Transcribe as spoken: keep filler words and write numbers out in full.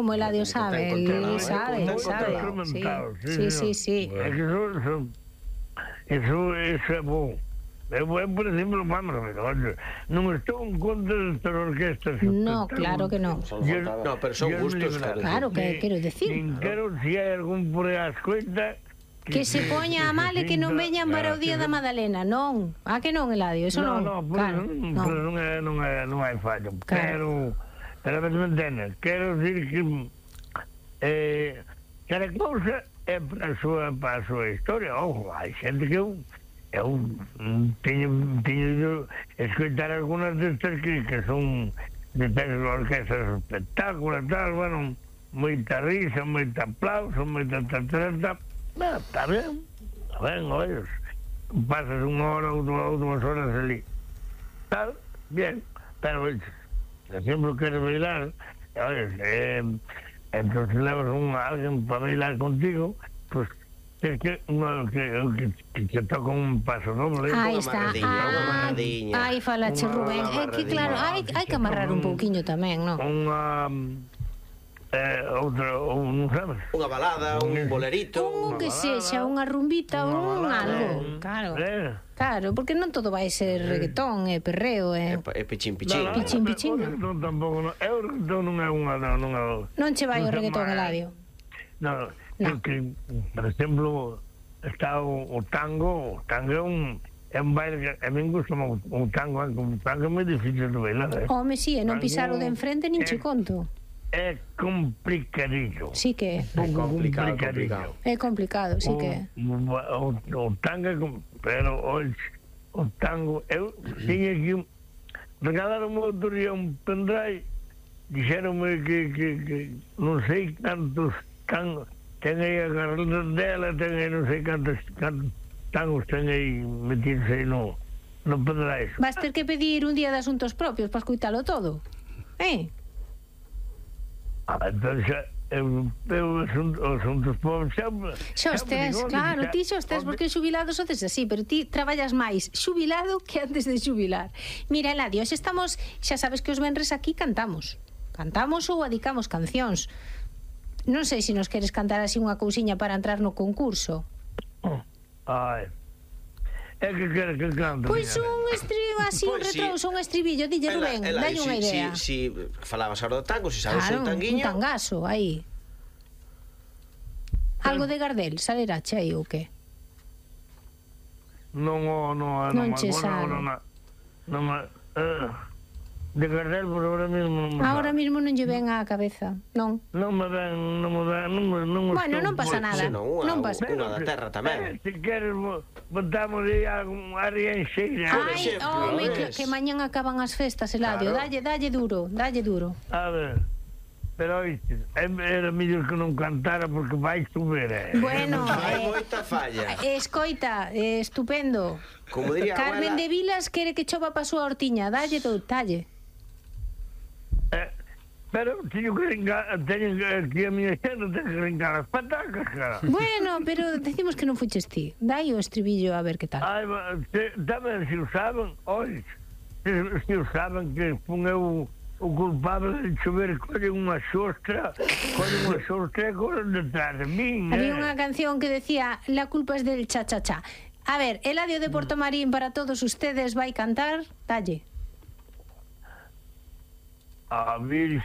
como Eladio sabe, él sabe, sabe. Sí, sí, sí. É que eso, eso, eso, eso é bom. Eu, eu, por exemplo, vamos a ver, olha, non estou en contra destas orquestas. No, claro que non. No, pero son gustos, claro, que quero decir. Nin quero, se hai algún por aí a escoita, que se poña a mal e que non veñan para o Día da Madalena, non? Ah, que non, Eladio, eso non. No, no, claro, non, pero non, é, non, é, non hai fallo. Pero, pero a vez me entendes, quero dicir que eh, cada cousa é para a súa, para a súa historia. Ojo, hai xente que eu eu teño, teño escoitar algunas destas que, que son destas orquestas espectáculos, tal, bueno, moita risa, moita aplauso, moita tatarata. Bueno, está ben, está ben, oye, pasas unha hora ou dúas horas ali, tal, bien, pero oye, sempre queres bailar, oye, eh, entonces levas un, alguien para bailar contigo, pues que, que, no, que, que, que, que toca un paso doble. Aí está, ah, aí falache Rubén, é que claro, hai, hai que amarrar un pouquiño tamén, non? Unha... Eh, outra, un, sabes? Unha balada, un bolerito, un que sexa, unha rumbita, un algo, claro. Eh. Claro, porque non todo vai ser reggaetón, e perreo, e e pichín pichín. No, no, pichín pichín. Non tampouco, non. Eu reggaetón non é unha, non é. Non che vai o reggaetón, Eladio. No, no. Que, por exemplo, está o, o tango, o tango é un é un baile que a mí gusta o, o tango, un tango é moi difícil de bailar, eh. Home, si, e non pisar o de enfrente nin che conto. É complicadillo. Sí que é. É complicado, complicado. É complicado, sí que é. O, o, o tango, pero o, o tango, eu tiña que regalaron outro día un pendrive, dixeronme que, que, que non sei cantos tangos ten aí a carrera dela, ten aí non sei cantos, cantos tangos ten aí metidos aí no, no pendrive. Vas ter que pedir un día de asuntos propios para escuitalo todo, eh? Entón xa, eu, eu os asuntos pobres xa... Xa os tes, claro, ti xa os tes, porque xubilados sodes así, pero ti traballas máis xubilado que antes de xubilar. Mira, Eladio, xa estamos, xa sabes que os venres aquí cantamos. Cantamos ou adicamos cancións. Non sei se nos queres cantar así unha cousiña para entrar no concurso. Ai... É que queres que cante? Pois un estribo así, un retrouso, un estribillo, dille Rubén, dalle unha idea. Si falabas ahora do tango, si sabes un tanguiño. Un tangazo, aí. Algo de Gardel, salerache aí ou que? Non, non, non che sabe. Non, de Gardel por ahora mismo. Ahora mismo non lle ven á cabeza, non? Non me ven, non me ven, non me... Bueno, non pasa nada. Non pasa nada. Unha da terra tamén. Se queres, botamos aí a Arienxeira. Ai, home, que mañan acaban as festas, Eladio. Dalle, dalle duro, dalle duro. A ver... Pero, oíste, era mellor que non cantara porque vai chover, eh? Bueno, hai moita falla. Escoita, estupendo. Como diría Carmen de Vilas quere que chova pa súa hortiña. Dalle do talle. Eh, pero teño que ringar, teño que a miña xente ten que ringar as patacas, cara. Bueno, pero decimos que non fuches ti. Dai o estribillo a ver que tal. Ai, tamén, se o saben, oi, se, se o saben que fun eu o culpable de chover, colle unha xostra, colle unha xostra e corren detrás de min. Había unha canción que decía la culpa es del cha-cha-cha. A ver, Eladio de Portomarín para todos ustedes vai cantar, dalle. A Virxe